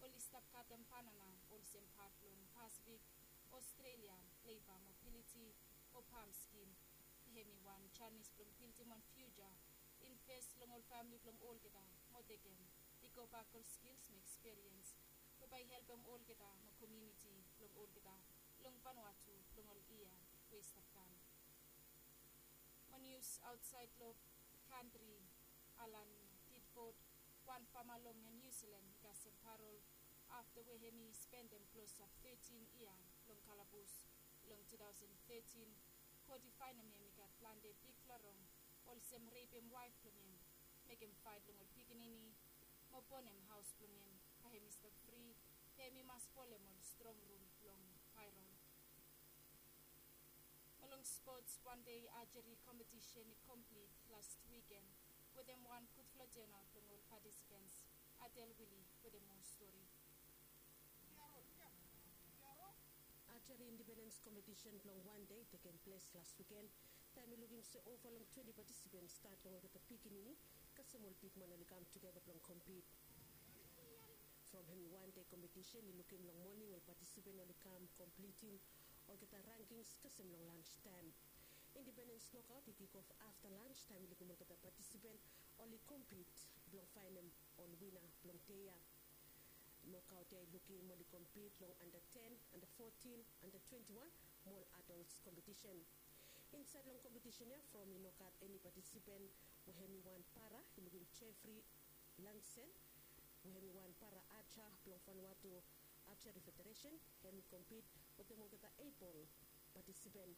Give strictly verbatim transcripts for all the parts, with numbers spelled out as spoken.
Oli stap katem banana olsem pat blong Pasifik, Australia, Labour Mobility o Palm Scheme. Hemi wan janis blong bildim wan fiuja invest long ol famili blong olgeta mo tekem i gobak ol skils mo ekspiriens we bae i helpem olgeta mo komuniti blong olgeta long Vanuatu long ol yia we i stap kam. Mo nius aotsaed long kantri, Alan Tidford, wan fama long Niu Silan i kasem parol afta we hemi spendem klosap tetin yia long kalabus. Long tu taosen tetin, kot i faenem hem i gat plante bigfala rong olsem repem waef blong hem, mekem faet long ol pikinini mo bonem haos blong hem. Bae hem i stap fri, be hem i mas folem ol strong rul blong parol. Mo long spots, wan dei ajeri kompetisen i komplit las wiken wetem wan gudfala turnout blong ol patisipens. Adel Wili wetem moa stori. Ajeri indipendens kompetisen blong wan dei i tekem ples las wiken. Taem i lukim se ova long twenti patisipens stat long olgeta pikinini kasem ol bigman oli kam tugeta blong kompit. From hemi wan dei kompetisen i lukim long moning ol patisipen oli kam komplitim olgeta rankings kasem long lans taem. Indipendens nokaot i kikof afta lans taem i lukim olgeta patisipen oli kompit blong faenem ol wina blong dei ya. Nokaot ya i lukim oli kompit long anda ten, anda fotin, anda twenti wan mo ol adols kompetisen. Insaed long kompetisen ya from i no gat eni patisipen we hemi wan para i lukim Jeffrey Langsen we hemi wan para aja blong Vanuatu Archery Federation. Hemi kompit wetem olgeta eibol patisipen.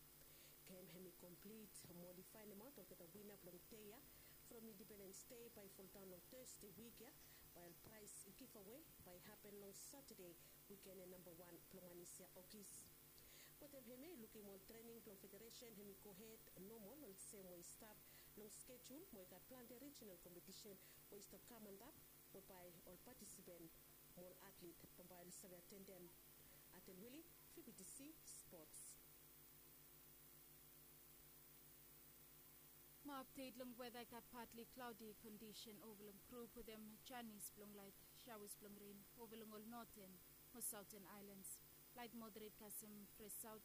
Gem hemi komplit mo oli faenemaot olgeta wina blong dei ya from Indipendens Dei bae i foldaon long Tasde wik ya. Bae ol praes givawe bae i hapen long Satade wiken ya namba wan blong manis ya Ogis. Wetem hemia i lukim ol trening blong federesen hemi gohed nomol olsem we i stap long skejul mo i gat plante rijinal kompetisen we i stap kam antap we bae ol patisipen mo ol atlet bambae oli save atendem. Atel Wili, V B T C Sports. Mo apdet long weda i gat patli klaodi kondisen ova long grup wetem janis blong laet shawas blong ren ova long ol noten mo saoten aelans. Laet moderet kasem fres saot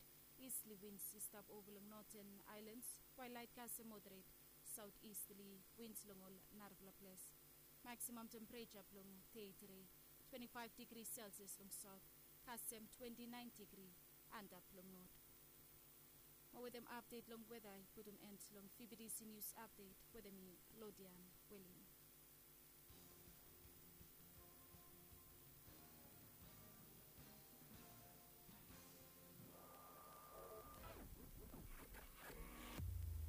istli wins i stap ova long noten aelans, wael laet kasem moderet saot istli wins long ol narafala ples. Maksimam tempereja blong dei tede twenti faef digri selsias long saot kasem twenti naen digri antap long not. Mo wetem apdet long weda i putum en long V B T C Nius Apdet wetem mi, Lodian Welin.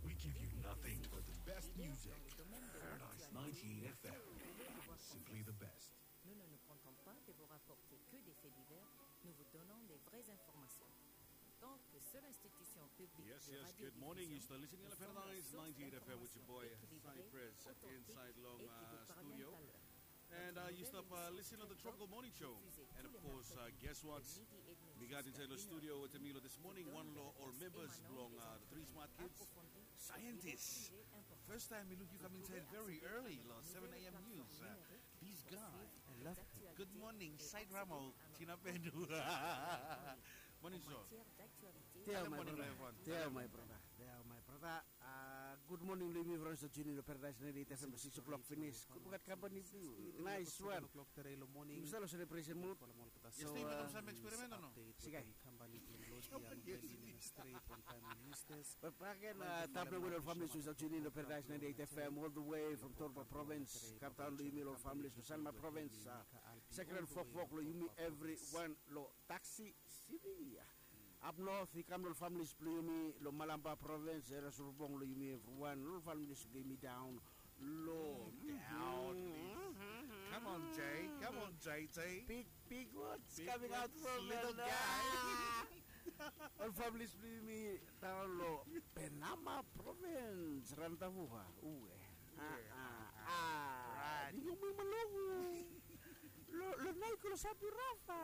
We give you nothing but the best music. Paradise ninety-eight F M. Simply the best. Nous ne nous contentons pas de vous rapporter que des faits divers, nous vous donnons des vraies informations. En tant que seule institution publique de radiodiffusion, nous sommes la source d'informations équilibrées, authentiques et qui vous parviennent à l'heure. Comme toutes les nouvelles, vous pouvez également vous informer sur les médias sociaux. And uh, you stop uh, listening to the Tronco Morning Show. And of course, uh, guess what? Mi gat insaed long studio wetem mi long this morning, wan long ol membas blong uh, the Three Smart Kids, scientist. First time mi luk yu kam insaed very early long seven A M news. Uh, this guy. I love him. Good morning, Said Ramo, Tina Bendu. Morning, sir. Teo, my brother. Teo, my brother. Teo, my brother. Uh, good morning long yumi from Saut Union Paradise ninety-eight F M, six o'clock finis. Good, we gat company blong yu. Nice one. Yumi stap long celebration mood. Yes, so, um, sigai. Back again, uh, tapuaem wetem ol families we Saut Union Paradise ninety-eight F M all the way from Torba Province. Kam daon long yumi ol families long Sanma Province. Uh, second fokfok long yumi evriwan long Taxi City. Up north i kam long families blong yumi long Malampa Province, Era Surubong long yumi evriwan, long families blong yumi daon long. Down. Come on, Jay. Come on, J J. Big, big words coming out from little guy. Ol families blong yumi daon long Penama Province, Rantavuha. Ue. Ah, ah, ah. Right. Di yumi malogu. Lo, lo nai kolo sabi rafa.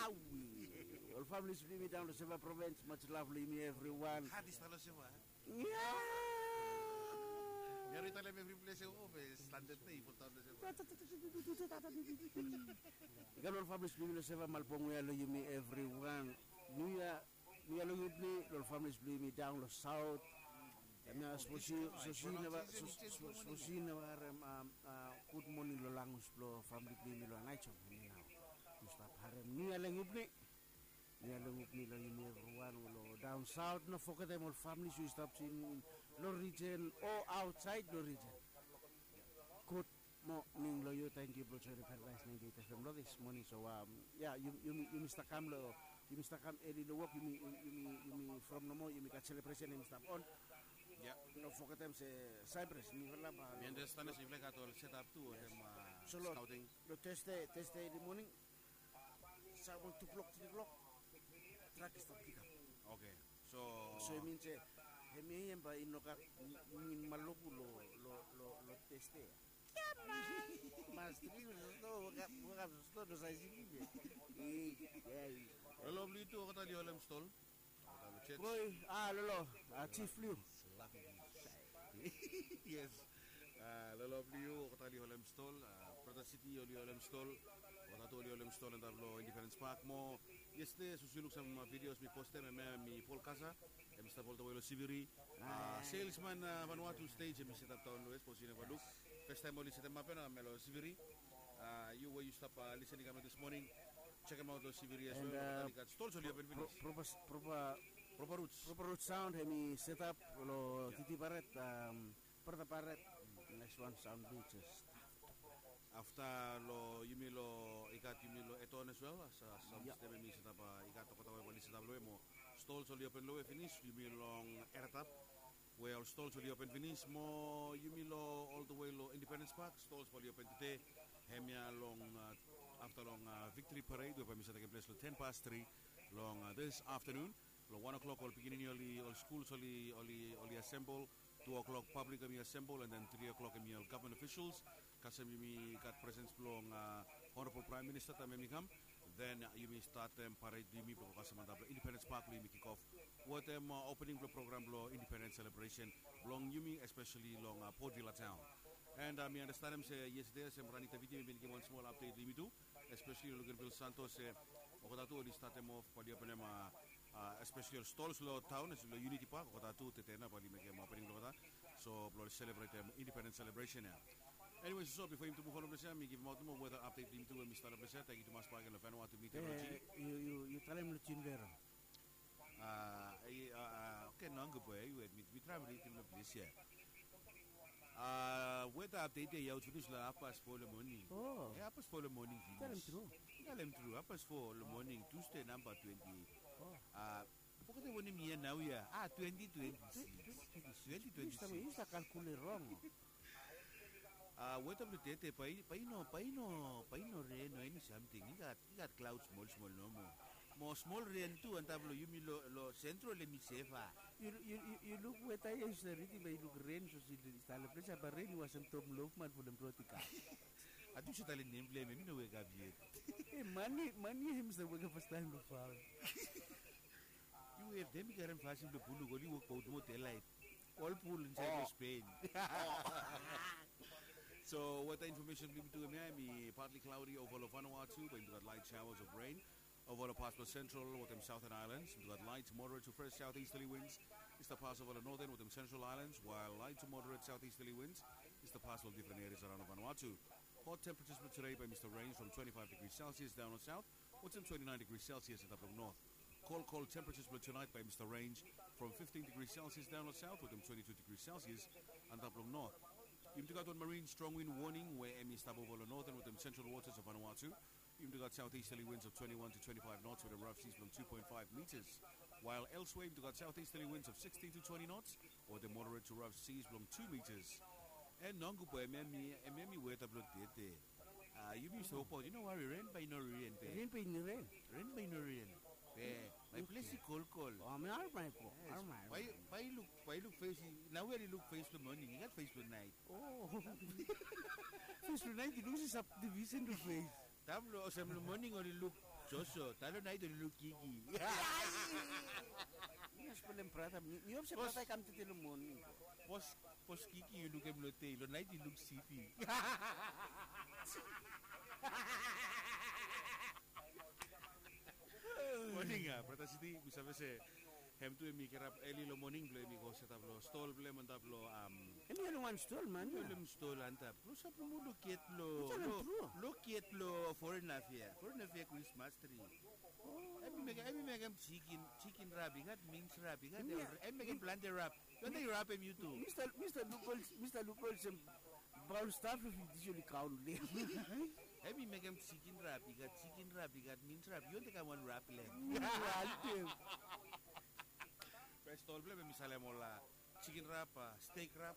Awi. Ol families blong yumi daon long Seva Province, much love long yumi evriwan. Hadis talo Seva. Yeah. Every time, every place I go, be standard na i put down the same. Ika lo ol families blong yumi lo seva malbong we ya lo yumi everyone. New Year, New Year lo yumi, lo ol families blong yumi down lo south. Em ya, suppose you, suppose you never, suppose you never harem, um, uh, good morning lo language blo family blong yumi lo Naichong. Em ya nao. You stop harem New Year lo yumi. New Year lo yumi, lo yumi everyone lo down south, no fogetem ol families we stap in lo region o outside lo region. Good morning lo yu, thank you blo joining Paradise ninety-eight F M lo this morning. So, um, yeah, you, you, you must come lo, you must come early lo work, you, you, you, you from no more, you got celebration, you stap on. Yeah. No fogetem se Cyprus, mi vala ba. Mi understand se you like at all set up too, yes. Them, uh, so lo, scouting. Lo Thursday, Thursday in the morning, Sa wan tu klok, tri klok, trak i stap pikap. Okay. So, so i min se hemia i em bae i no gat min maloku lo, lo, lo, lo teste. Mas tri, no, wokap, wokap, no, no, sa isi. Lo lo bli tu, olgeta oli holem stol. Koi, a, lo lo, a, Chief Liu. Yes. A, lo lo bli tu, olgeta oli holem stol, a, Brother City oli holem stol, olgeta tu oli holem stol antap lo Independence Park mo. Yestede, sapos yu luk sam, a, videos mi postem, hemia mi Paul Kasa, hemi stap oltawe lo Siviri. A, salesman, a, Vanuatu stage, hemi setap daon lo, sapos yu neva luk. Fastaem oli setemap hemia lo Siviri. A, yu we yu stap, a, listening hemia this morning, check him out lo Siviri as well. Olgeta oli gat stol, oli open finis. Proper, proper, proper roots. Proper root sound, hemi setap lo Titi Baret, um, Brother Baret. Next one, sound beaches. Afta lo yumi lo, i gat yumi lo Eton as well, a, sam, sam stem hemi setap, a, i gat olgeta we oli setap lo hem mo. Stol oli open lo hem finis, yumi long Eratap. We ol stol oli open finis mo yumi lo oltawe lo Independence Park, stol oli open tede. Hemia long, a, afta long, a, Victory Parade we bae hemi save tekem ples lo ten past tri long, a, this afternoon. Lo wan o'clock ol pikinini oli, ol skul oli, oli, oli assemble. Tu o'clock public hemi assemble, and then tri o'clock hemi ol government officials. Kasem yumi gat presence blong, a, Honorable Prime Minister taem hemi kam. Then, a, yumi statem, a, parade blong yumi blong kasem antap lo Independence Park blong yumi kick off wetem, a, opening blong program blong Independence celebration blong yumi, especially long, a, Port Vila town. And, a, mi andastanem se yestede se Ranita Viti hemi bin givim wan smol update lo yumi tu, especially lo Luganville Santos se olgeta tu oli statem off, bae oli openem, a, a, especially ol stol lo taon, lo Unity Park, olgeta tu tede nao bae oli mekem opening blong olgeta. So blong oli selebretem Independence celebration ya. Anyways, so bifo yumi tu muv on lo ples ya, mi givimaot nomo weather update blong yumi tu we mi stap lo ples ya. Tangkiu tumas bakegen lo Vanuatu Meteorology. Yu, yu, yu talem lo June Vero. A, e, a, a, okay, nao gud boe, yu wet, mi, mi traem ridim lo ples ya. A, weather update ya i aot finis lo hafpas fo lo moning. O. E, hafpas fo lo moning finis. Talem tru. Talem tru, hafpas fo lo moning, Tuesday namba twenty-eight. O. A, fogetem wanem yia nao ya? A, twenty twenty-six. Twenty twenty-six. Yu stap, yu stap kalkulet rong. A, weather blong tede bae, bae i no, bae i no, bae i no ren o eni samting. I gat, i gat cloud smol smol nomo. Mo smol ren tu antap lo yumi lo, lo Central hemi sefa. Yu, yu, yu, yu luk weather ya, yu save ridim, bae i luk ren, sapos i stap lo ples ya bae ren i wasem Tom Loafman from Brotika. Ati yu save talem nem blong hem, hem i no wekap yet. E, man ya, man ya hemi save wekap fastaem lo faon. Yu, e, dem i karem fasin blong pul, oli wok baot mo delaet. Ol pul insaed lo Spain. So weather information blong yumi tu hemia, hemi partly cloudy ova lo Vanuatu, bae yumi tu gat light showers of rain ova lo pas blo Central wetem Southern Islands. Yumi tu gat light to moderate to fresh southeasterly winds i stap pas ova lo Northern wetem Central Islands, while light to moderate southeasterly winds i stap pas lo difren areas araon lo Vanuatu. Hot temperatures blo tede bae hemi stap range from twenty-five degrees Celsius daon lo south wetem twenty-nine degrees Celsius antap lo north. Cold, cold temperatures blo tonight bae hemi stap range from fifteen degrees Celsius daon lo south wetem twenty-two degrees Celsius antap lo north. Yumi tu gat wan marine strong wind warning we hemi stap ova lo Northern wetem Central waters of Vanuatu. Yumi tu gat southeasterly winds of twenty-one to twenty-five knots wetem rough seas blong two point five meters. While elsewhere yumi tu gat southeasterly winds of sixteen to twenty knots wetem moderate to rough seas blong two meters. And nao gud boe, hemia hemi, hemia hemi weather blo tede. A, yumi stap wokbaot, yu no wari, ren bae i no ren be. Ren bae i no ren. Ren bae i no ren. Be, my place i kolkol. O, hemia, hemia i go. Yes. Hemia, hemia. Bae, bae i luk, bae i luk fes, nao we oli luk fes blo moning, i gat fes blo naet. O. Fes blo naet i luk olsem subdivision blo fes. Taem blo, olsem blo moning oli luk Joso, taem blo naet oli luk Kiki. Yes, problem brata. Mi, mi hop se brata i kam tete lo moning. Bos, bos Kiki, yu lukim lo tei, lo nait yu luk Siti. Moning a, brata Siti, mi save se hem tu hemi kirap eli lo moning blo hemi go setap lo stol blo hem antap lo, am, hemi oli wan stol man, hemi oli wan stol antap. Lo sap lo mo lo get lo, lo get lo foreign affair, foreign affair Christmas tree. Hemi mekem, hemi mekem chicken, chicken wrap i gat, mince wrap i gat, hemi mekem plantain wrap. Yu wantem wrap hem yu tu. Mista, Mista Lukol, Mista Lukol se brown stuff if this oli kaun le. Hemi mekem chicken wrap i gat, chicken wrap i gat, mince wrap. Yu wantem kam wan wrap lo hem. Wantem. Be stol blo hem hemi salem ol chicken wrap, a, steak wrap,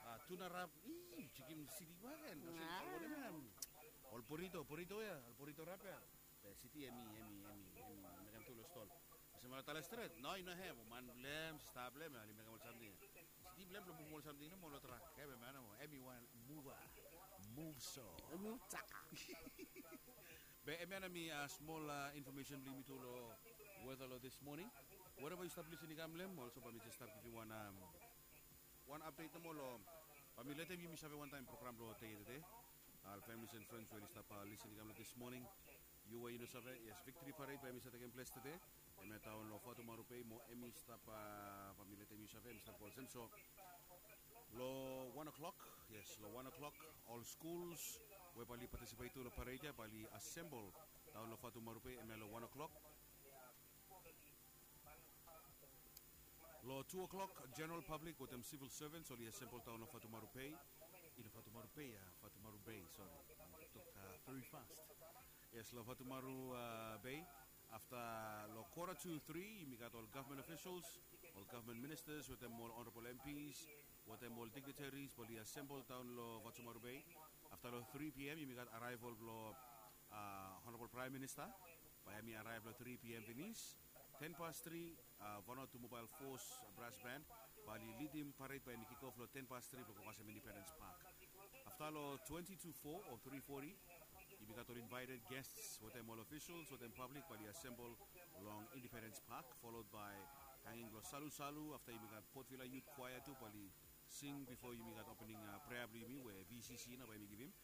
a, tuna wrap. Ih, chicken sili waken. Ol burrito, burrito ya, ol burrito wrap ya. Be Siti hemi, hemi, hemi, hemi mekem tu lo stol. Olsem ol tale stret, no, i no hem, man blo hem, sista blo hem, oli mekem ol samting. Siti blo hem blo bungim ol samting nomo lo trak, hemi man nomo, hemi wan muva, move so. Hemi taka. Be hemia nao hemi smol infomesen blo yumi tu lo weta lo this morning. Wherever yu stap lisin i kam lo hem, olsem bae mi jes stap givim wan, am, wan apdet nomo lo, bae mi letem yumi save wantaem program blo tede ya tede. Ol families and friends we oli stap lisin i kam lo this morning. Yu we yu no save, yes, Victory Parade bae hemi stap tekem ples tede. Hemia daon lo Fatumaru Bay mo hemi stap, bae mi letem yu save, hemi stap go olsem so. Lo wan o'clock, yes, lo wan o'clock, ol skuls we bae oli patisipet tu lo parade ya bae oli asembol daon lo Fatumaru Bay, hemia lo wan o'clock. Lo tu o'clock, general public wetem civil servants oli asembol daon lo Fatumaru Bay. I no Fatumaru Bay ya, Fatumaru Bay, sori. Tok very fast. Yes, lo Fatumaru Bay. Afta lo quarter to three, yumi gat ol government officials, ol government ministers wetem ol honorable M Ps wetem ol dignitaries bae oli asembol daon lo Fatumaru Bay. Afta lo three P M yumi gat arrival blo honorable Prime Minister, bae hemi arrive lo three P M finis. Ten past three, Vanuatu Mobile Force Brass Band bae oli lidim parade bae hemi kick off lo ten past three blo go kasem Independence Park. Afta lo twenty to four o three forty, yumi gat ol invited guests wetem ol officials wetem public bae oli asembol long Independence Park, followed by hanging blo salusalu. Afta yumi gat Port Vila Youth Choir tu bae oli sing bifo yumi gat opening prea blo yumi we V C C nao bae hemi givim.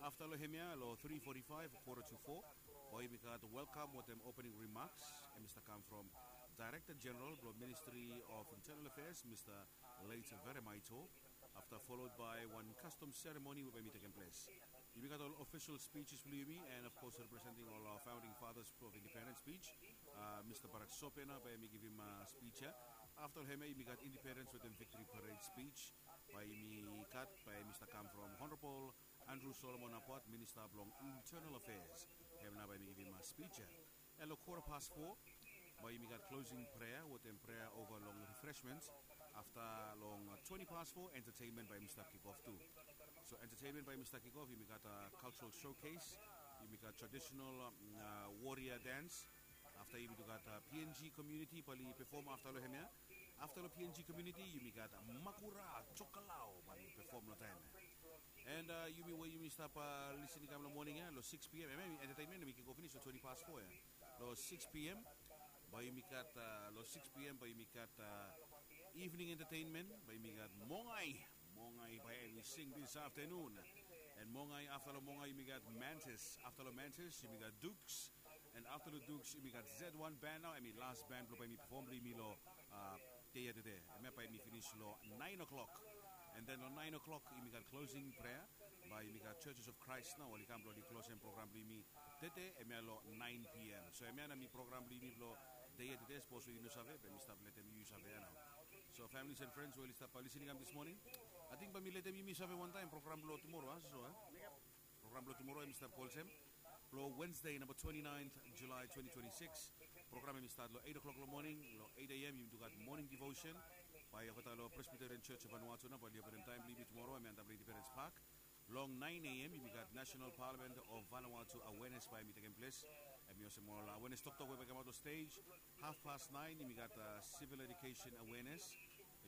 Afta lo hemia lo three forty-five, quarter to four, bae yumi gat welcome wetem opening remarks, hemi stap kam from Director General blo Ministry of Internal Affairs, Mista Late Veremaito. Afta followed by wan custom ceremony we bae hemi tekem ples. Yumi gat ol official speeches blo yumi, and of course representing ol founding fathers of independence speech, Mista Barak Sope nao bae hemi givim speech ya. Afta lo hemia yumi gat Independence wetem Victory Parade speech bae yumi gat, bae hemi stap kam from Honorable Andrew Solomon Apuat, Minista blong Internal Affairs. Hem nao bae hemi givim speech ya. And lo quarter past four bae yumi gat closing prayer wetem prayer over long refreshments. Afta long twenty past four, entertainment bae hemi stap kick off tu. So entertainment bae hemi stap kick off, yumi gat cultural showcase, yumi gat traditional warrior dance. Afta yumi tu gat P N G community bae oli pefom afta lo hemia. Afta lo P N G community yumi gat Makura Chokalao bae oli pefom lo taem ya. And yumi we yumi stap lisin i kam lo moning ya lo six P M, hemia entertainment hemi kick off finis lo twenty past four ya. Lo six P M bae yumi gat, lo six P M bae yumi gat evening entertainment, bae yumi gat Mongai. Mongai bae hemi sing this afternoon. And Mongai, afta lo Mongai yumi gat Mantis. Afta lo Mantis yumi gat Dukes. And afta lo Dukes yumi gat Z one band nao, hemi last band blo bae hemi pefom blo yumi lo dei ya tede. Hemia bae hemi finis lo nine o'clock. And then lo nine o'clock yumi gat closing prayer bae yumi gat Churches of Christ nao oli kam blo oli klosem program blo yumi tede, hemia lo nine P M. So hemia nao hemi program blo yumi blo dei ya tede. Sapos we yu no save, bae mi stap letem yu save ya nao. So families and friends we oli stap lisin i kam this morning, ating bae mi letem yumi save wantaem program blo tumora, a, so, a. Program blo tumora hemi stap go olsem. Blo Wednesday, namba twenty-ninth July twenty twenty-six. Program hemi stat lo eight o'clock lo moning. Lo eight A M yumi tu gat morning devotion bae i olgeta lo Presbyterian Church of Vanuatu nao bae oli openem taem blo yumi tumora, hemi antap lo Independence Park. Long nine A M yumi gat National Parliament of Vanuatu awareness bae hemi tekem ples. Hemi olsem ol awareness toktok we bae i kamaot lo stage. Half past nine yumi gat civil education awareness.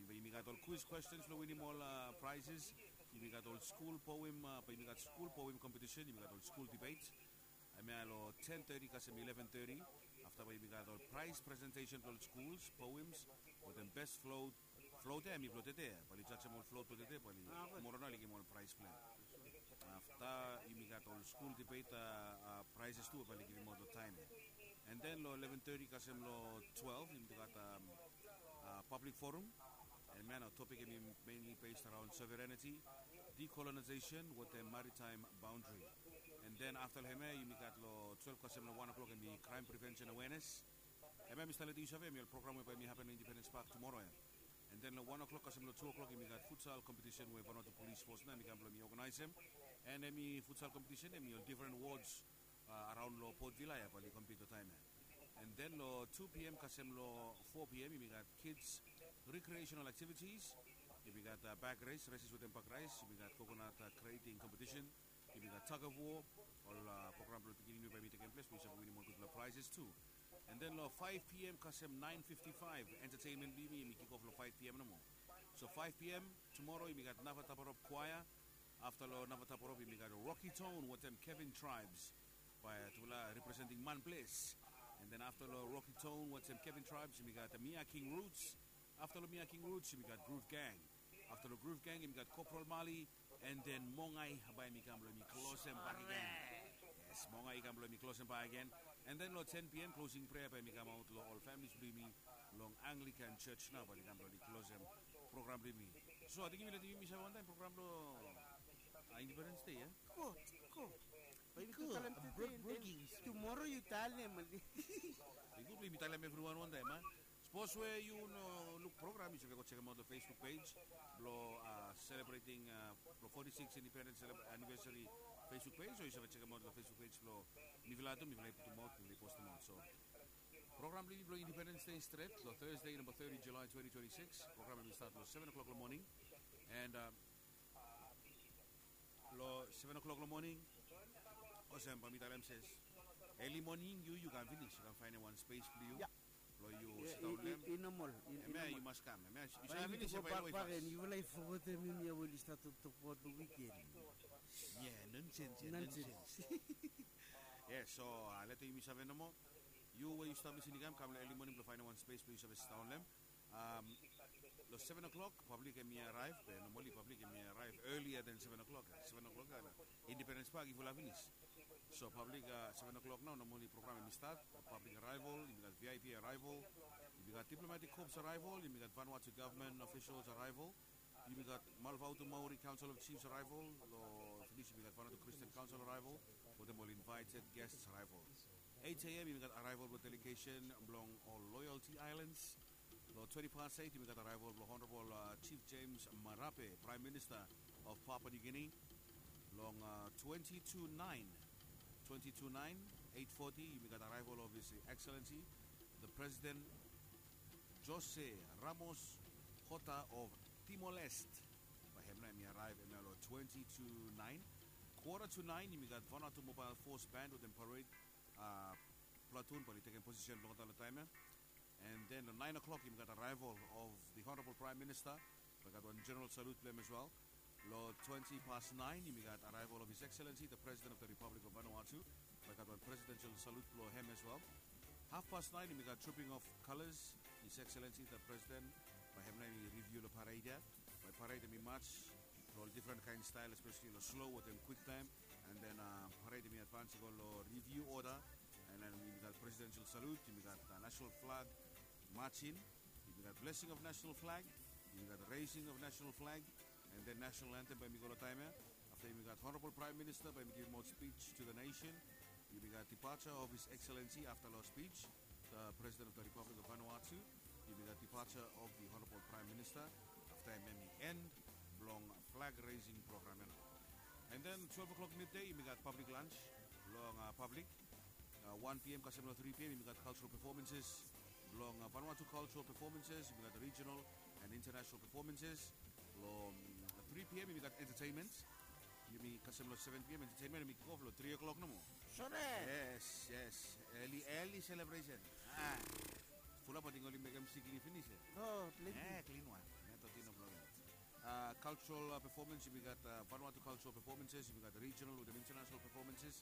Yumi gat ol quiz questions blo winim ol prizes. Yumi gat ol skul poem, bae yumi gat skul poem competition, yumi gat ol skul debate. Hemia long ten thirty kasem eleven thirty. Afta bae yumi gat ol prize presentation blong ol schools, poems, wetem best float. Float ya hemi blong tede, bae oli jajem ol float blong tede, bae oli, tumora nao oli givim ol prize blong hem. Afta yumi gat ol school debate, a, a, prizes tu bae oli givimaot long taem ya. And then long eleven thirty kasem long twelve yumi gat, am, a, public forum. Hemia nao topik hemi mainly based around sovereignty, decolonization wetem maritime boundary. And then afta long hemia yumi gat long twelve kasem long wan o'clock hemi crime prevention awareness. Hemia mi stap letem yu save hemi ol program we bae hemi hapen long Independence Park tumora ya. And then long wan o'clock kasem long tu o'clock yumi gat futsal competition we Vanuatu Police Force nao hemi kam blong hemi organizem. And hemi futsal competition hemi ol different wards, a, araon long Port Vila ya bae oli compete long taem ya. And then long tu p.m. kasem long four p.m. yumi gat kids recreational activities. Yumi gat, a, bag race, races wetem bag race. Yumi gat coconut, a, creating competition. Yumi gat tug of war. Ol, a, program blong pikinini we bae hemi tekem ples blong yu save winim ol gudfala prizes tu. And then long five p.m. kasem nine fifty-five entertainment blong yumi hemi kick off long five p.m. nomo. So five p.m. tumora yumi gat Navataporop Choir. Afta long Navataporop yumi gat Rocky Tone wetem Kevin Tribes, bae tufala representing Manples. And then afta long Rocky Tone wetem Kevin Tribes yumi gat Mia King Roots. Afta long Mia King Roots yumi gat Groove Gang. Afta long Groove Gang yumi gat Corporal Mali. And then Mongai bae hemi kam blong hemi klosem bakegen. Yes, Mongai i kam blong hemi klosem bakegen. And then long ten p.m. closing prayer bae hemi kamaot long ol families blong yumi long Anglican Church nao bae oli kam blong oli klosem program blong yumi. So ating yumi letem yumi save wantaem program blong, a, Independence Day ya. Gud, gud. Bae yumi tu talem tede, and then tumora yu talem. I gud blong yumi talem evriwan wantaem, a. Sapos we yu no luk program yu save go jekemaot long Facebook page blong, a, celebrating, a, blong forty-six independence celeb-, anniversary Facebook page, o yu save jekemaot long Facebook page blong mifala tu, mifala i putumaot, mifala i postemaot. So program blong yumi blong Independence Day stret long Thursday namba thirty July twenty twenty-six. Program hemi stat long seven o'clock long moning. And, a, long seven o'clock long moning, olsem bae mi talem se, eli moning yu, yu kam finis, yu kam faenem wan spes blong yu. Ya. Blong yu sitaon long hem. I, i, i, i normal. I, i normal. Hemia yu mas kam. Hemia yu save finis ya bae long hem fas. Yufala i fogetem hemia we oli stap toktok abaot long wiken. Ia, nonsens ya, nonsens. Yes, so, a, letem yumi save nomo. Yu we yu stap lisin i kam, kam long eli moning blong faenem wan spes blong yu save sitaon long hem. Am, long seven o'clock pablik hemi araev, be nomali pablik hemi araev earlier than seven o'clock. Seven o'clock ya long Independence Park i fulap finis. So pablik, a, seven o'clock nao nomali program hemi stat. Pablik arrival, yumi gat V I P arrival, yumi gat diplomatic corps arrival, yumi gat Vanuatu government officials arrival, yumi gat Malvautu Maori Council of Chiefs arrival, long finis yumi gat Vanuatu Christian Council arrival wetem ol invited guests arrival. Eight a.m. yumi gat arrival blong delegation blong ol Loyalty Islands. Long twenty past eight yumi gat arrival blong Honorable, a, Chief James Marape, Prime Minister of Papua New Guinea. Long, a, twenty to nine, twenty to nine, eight forty yumi gat arrival of His Excellency the President Jose Ramos Horta of Timor-Leste. Bae hem nao hemi araev hemia long twenty to nine. Quarter to nine yumi gat Vanuatu Mobile Force Band wetem parade, a, platoon bae oli tekem posisen blong olgeta long taem ya. And then long nine o'clock yumi gat arrival of the Honorable Prime Minister. Bae gat wan general salute blong hem as well. Long twenty past nine yumi gat arrival of His Excellency the President of the Republic of Vanuatu. Bae gat wan presidential salute blong hem as well. Half past nine yumi gat trooping of colours, His Excellency the President. Bae hem nao hemi review long parade ya. Bae parade hemi march long ol different kaen style, especially long slow wetem kwik taem. And then, a, parade hemi advance i go long review order. And then yumi gat presidential salute, yumi gat, a, national flag march in, yumi gat blessing of national flag, yumi gat raising of national flag, and then national anthem bae hemi go long taem ya. Afta yumi gat Honorable Prime Minister bae hemi givimaot speech to the nation. Yumi gat departure of His Excellency afta long speech, the President of the Republic of Vanuatu. Yumi gat departure of the Honorable Prime Minister. Afta hem hemi end blong flag raising program ya nao. And then twelve o'clock midday yumi gat public lunch blong, a, public. A, one p.m. kasem long three p.m. yumi gat cultural performances blong, a, Vanuatu cultural performances, yumi gat regional and international performances. Long, a, three p.m. yumi gat entertainment. Yumi kasem long seven p.m. entertainment hemi kick off long three o'clock nomo. Sore. Yes, yes. Early, early celebration. A. Fulap ating oli mekem sikli finis ya. No, klin. E, klin wan. Hemia thirteen o'clock ya. A, cultural, a, performance, yumi gat, a, Vanuatu cultural performances, yumi gat regional wetem international performances.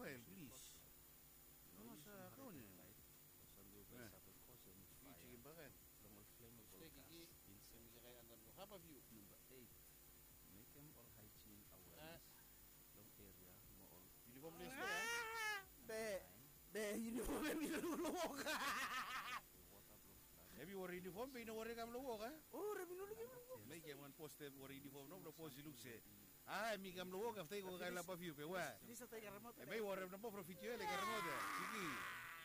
Rafael, plis. Yu mas kaon ya. Yu jikim baka ya. Steki ki, kemi kakae andan blong Harbour View. Mekem ol haijin awenes long eria mo ol. Yunifom ples ya. Be, be yunifom hemi no luk long wok. Hemi wore yunifom be i no wori kam long wok a. O, hemi no lukim long wok. Mekem wan pos, hemi wore yunifom no blong pos i luk se. A, hemi kam long wok afta i go kakae long Harbour View be we. Hemi wore namba from vidio ya, le karem aot ya. Siki.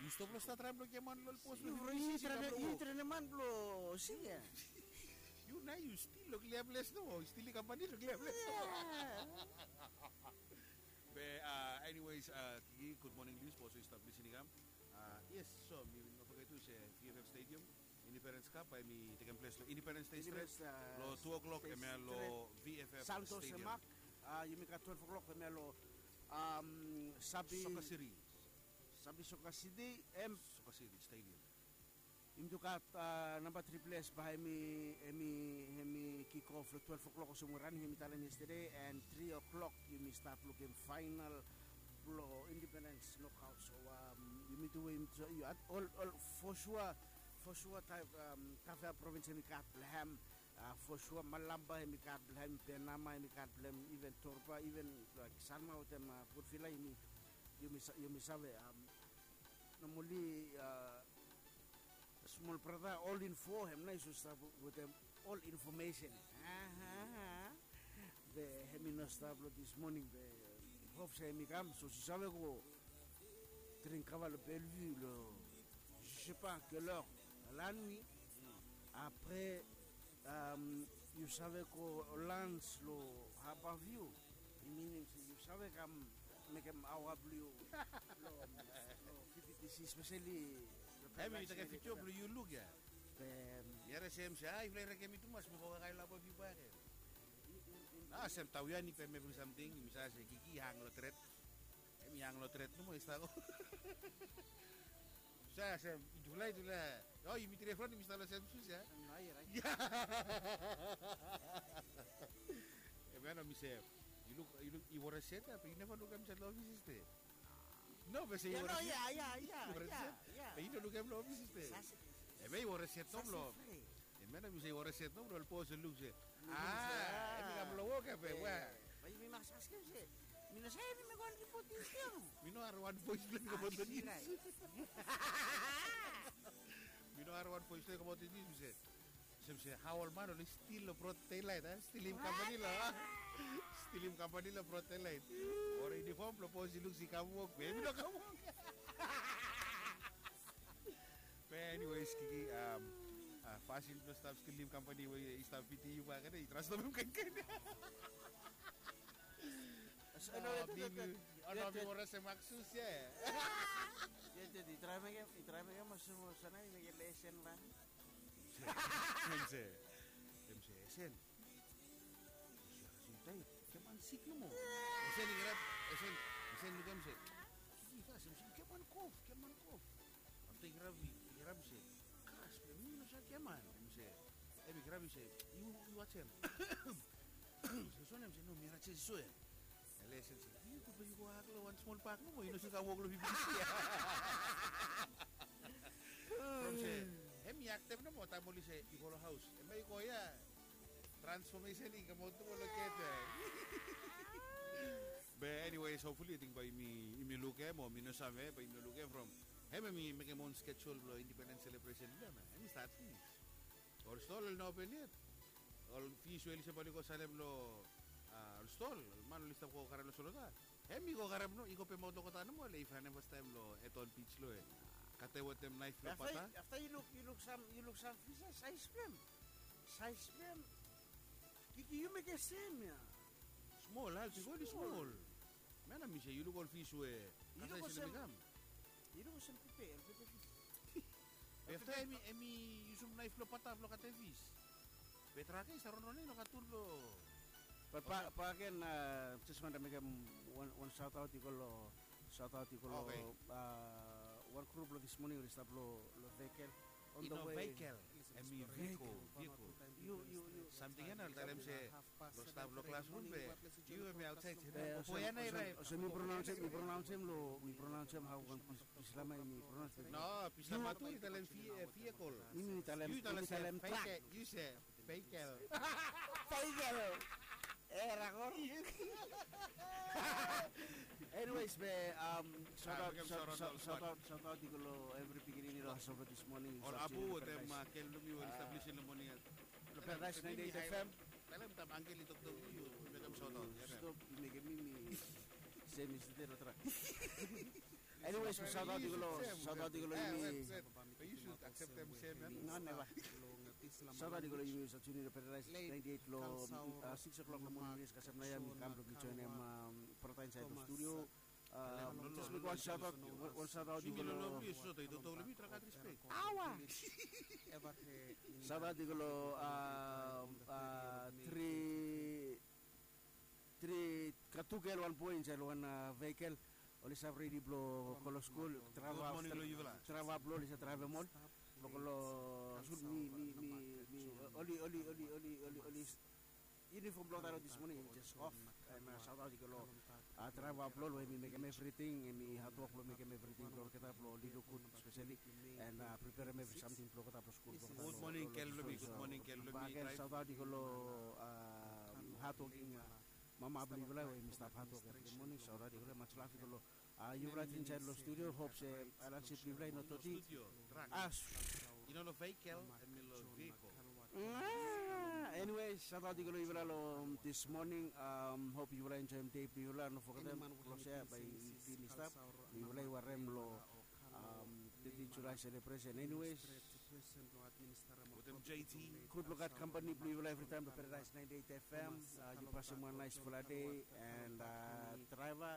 Yu stop long stat traem blong giaman long ol pos blong yu. Yu trenem man blong siki ya. Yu nao yu stil long klia ples nomo, yu stil i kam bae long klia ples nomo. Be, a, anyways, a, Kiki, gud moning long yu, sapos yu stap lisin i kam. A, yes, so mi no foget tu se VFF Stadium, Independence Cup, bae hemi tekem ples long Independence Day stret. Long tu o'clock hemia long VFF Stadium. Santos Emak, a, yumi gat twelve o'clock hemia long, am, Sabi Soccer City. Sabi Soccer City, em. Soccer City Stadium. Yumi tu gat, ah, namba tri ples bae hemi, hemi, hemi kick off long twelve o'clock olsem we Rani hemi talem yesterday, and three o'clock yumi stap lukim final blong Independence Knockout. So, um, yumi tu we yumi tu, yu, ol, ol, for sure, for sure, taem, um, Tafea Province hemi gat blong hem, ah, for sure, Malampa hemi gat blong hem, Penama hemi gat blong hem, even Torba, even, like, Sanma wetem, ah, Port Vila yumi, yumi sa-, yumi save, um, Normally, ah, smol brata, ol info hem nao i stap wetem ol information. Aha. Be hemi no stap long this morning, be hop se hemi kam, so yu save go dring kava long Bellevue long, je sais pas quelle heure, la nuit. Après, um, yu save go lunch long Harbour View. I minim se yu save kam mekem aoa blong yu long, long V B T C, especially. Hemi, yu tekem vidio blong yu luk ia. Be mi harim se, ah, yufala i rekem mi tumas, mi go kakae long Harbour View bakegen. Nao olsem Tawiani be mi bring samting, mi save se Kiki i hang long tret. Hemi hang long tret nomo, i stap go. Sa, sa, yutufala, yutufala. O, yumi three from yumi stap long sem sus ia. Hemia nao mi se, yu luk, yu luk, yu wore set ia, be yu neva lukim mi stap long ofis yestede. No, be se yu wore set. Ia, ia, ia, ia. Be yu no lukim long ofis yestede. Hemia yu wore set nomo. Hemia nao mi se yu wore set nomo, ol bos i luk se, ah, hemi kam long wok ia be we. Bae yumi mas askem se, mi no save, mi mekem wan ripot yestede. Mi no hari wan bois blong mi kam long nius. Mi no hari wan bois blong mi kam long nius, mi se, olsem se hao ol man oli stil long brod delaet, a? Stilim kampani long, stilim kampani long brod delaet. Wore yunifom blong bos i luk se i kam wok, be hemi no kam wok. Be anyways, Kiki, um, ah, fasin blong stap stilim kampani we i stap bitim yu bakegen, i trastomem kaen kaen. Olsem mi wore olsem Maksus ia. Ia, ia, i traem mekem, i traem mekem olsem, olsem nao i mekem lesen bang. Hemia se, hemia se, esen. Esen, esen, keman sik nomo. Esen i grab, esen, esen lukim se, Kiki, kas, hemia se, keman kof, keman kof. Afta i grab, i grab se, kas, be mi no save keman. Hemi se, hemi grab, i se, yu, yu wajem. Se so, hemi se, no, mi harem se so ia. Lesen se, yu gud be yu go hak long wan smol bak nomo, yu no save kam wok long V B T C ia. From se, hemi aktem nomo, taem oli se yu go long haos, hemia i go ia. Transfomesen i kamaot nomo long kep ia. Be anyways, hopefully, ating bae yumi, yumi lukim, o mi no save, bae yumi no lukim from hemia, hemi mekem own schedule blong independence celebration blong hem ia. Hemi stat finis. Ol stol oli no open yet. Ol fis we oli stap oli go salem long, ah, ol stol, ol man oli stap go karem long Solota, hemi go karem nomo, i go pemaot long gota nomo, le i faenem fastaem long Eton Beach lo e. Katem wetem naef blong bata. Afta yu luk, yu luk sam, yu luk sam fis ia, saes blong hem. Saes blong hem. Kiki, yu mekem sem ia. Smol, al bikos oli smol. Hemia nao mi se yu luk ol fis we, yu luk olsem, yu luk olsem pepe, ol pepe fis. Be afta hemi, hemi yusum naef blong bata blong katem fis. Be drag ia i stap ronron ia i no gat tul blong. But bakegen, ah, jes wantem mekem wan, wan shout out i go long, shout out i go long, ah, wan grup blong this morning oli stap long, long vehicle. On the way. Vehicle. Hemi vehicle, vehicle. Yu, yu, yu. Samting ia nao oli talem se, long stap long klasrum be yu hemi aotsaed se, o ya nao i raet. Olsem mi pronaonsem, mi pronaonsem long, mi pronaonsem hao wan Bislama, mi pronaonsem. No, Bislama tu i talem vehicle. Mi, mi talem, yu talem trak. Yu se vehicle. Vehicle. E, rakor. Anyways, be, um, shout out, shout out, shout out i go long evri pikinini long Hasopa this morning. Ol abu wetem kel blong yu we oli stap lisin long moning ia. Long Paradise ninety-eight F M. Talem taem angkel i toktok, yu mekem shout out. Stop mekem mi, mi se mi stap long trak. Anyways, shout out i go long, shout out i go long yumi. Be yu should accept them same, eh? No, never. Shout out i go long yumi, Satsuni, long Paradise ninety-eight long, uh, six o'clock long moning. Yes, kasem nao ia mi kam blong mi joenem, um, brata insaed long studio. Um, jes mekem wan shout out, wan, wan shout out i go long. Aoa. Shout out i go long, um, uh, tri tri, gat tu gel, wan boe insaed long wan, uh, vehicle. oli save redi blong go long skul. Traeva blong oli save traevem ol blong go long skul. Mi mi mi mi oli oli oli oli oli oli uniform blong olgeta long this morning i jes of. And saotaot i go long traeva blong ol we mi mekem evriting, em i hatwok blong mekem evriting blong olgeta blong oli luk gud speseli, and preperem evri samting blong olgeta blong skul blong olgeta. Gud moning kel blong mi. Gud moning kel blong mi. Bagen saotaot i go long hatwoking mama blong yufala we mi stap hatwok evri moning. Saotaot i go long, much love i go long yufala insaed long studio. Hop se alansi blong yufala i no toti. As i no long vehikel, em i long vehikel. Anyways, saotaot i go long yufala long this morning. Hop yufala enjoem dei blong yufala. No fogetem long sea bae i bin i stap. Yufala i warem long teti Julae selebresen. Anyways, gud long gat kampani blong yufala evritaem long Paradise ninety eight F M. Yu pasem wan naesfala dei, and draeva,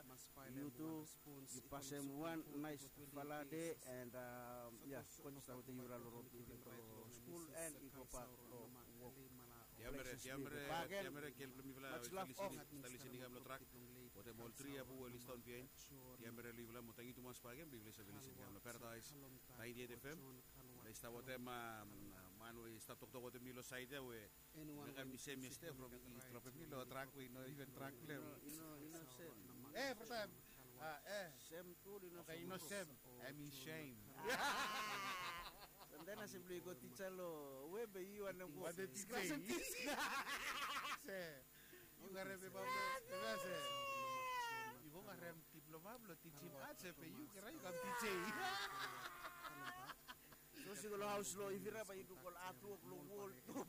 yu tu yu pasem wan naesfala dei, and ya, God i stap wetem yufala long rod blong skul and i go bak long wok. Tiamere, tiamere, tiamere kel blong mifala we i stap lisening, i stap lisening kam long trak wetem ol tri apu we oli stap on biaen. Tiamere long yufala mo tangkiu tumas bakegen blong yufala i save lisening kam long Paradise ninety eight F M. Mifala i stap wetem man we i stap toktok wetem mi long saed ya we mekem mi sem yestede from i dropem mi long trak we i no iven trak blong hem. E, brata, e, sem tu i no sem. Em i sem. Samtaem na se blong i go tija long we be yu wantem go. Wantem tija. Se yu karem pepa blong, se yu go karem diploma blong tijim ats, be yu karem, yu kam tija. So se go long haos long Ivira bae yu luk ol artwok long wol. Go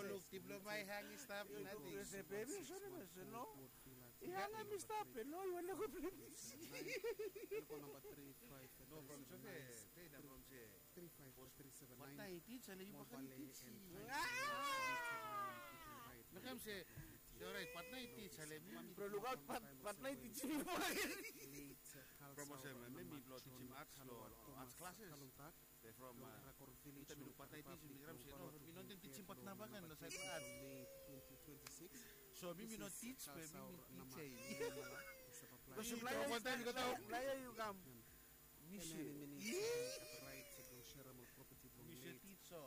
luk diploma i hang i stap nating. Se bebi, sori, se no. I hang em i stap, be no, i wantem go plei bisi. No, from se, from se. Patnae i tij, ale yu bae kam tij. Mekem se, se orait, patnae i tij, ale mi. Bro, lukaot, patnae i tijim yu bae kam tij. From olsem, mi mi blong tijim ats long ats klases. Be from ita mi luk patnae i tij, mi krai se no, mi no wantem tijim patnae bakegen long saed blong ats. So mi mi no tij, be mi mi tij. Go suplae, suplae yu kam. Mi se, mi se tij so.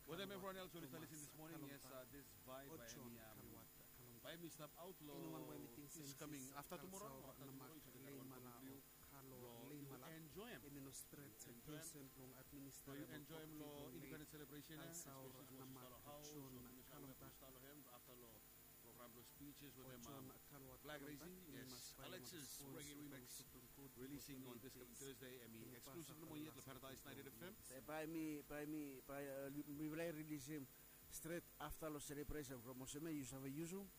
Wetem evriwan els we oli stap lisin this morning, yes, this vibe bae hemi, bae hemi stap aot long this coming afta tumora, afta tumora yu save gat wan program blong yu. Blong yu enjoem, enjoem blong yu enjoem long independens selebresen ya, espeseli we oli stap long haos o oli stap long hem afta long program blong speeches wetem flag raising. Yes, Alexis Reggae Remix releasing on this coming Thursday, hemi exclusive nomo yet long Paradise ninety eight F M. Bae mi, bae mi, bae mifala i rilisim stret afta long selebresen from olsem ya yu save yusum.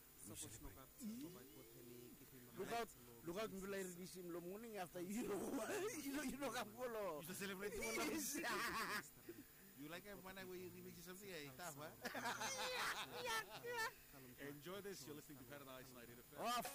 Lukaot, lukaot, mifala i rilisim long moning afta yu no, yu no kam go long. Yu save selebrate tu. Yu laekem wan we i remix samting ya i taf a. Enjoy this. You're listening to Paradise ninety eight F M. Off.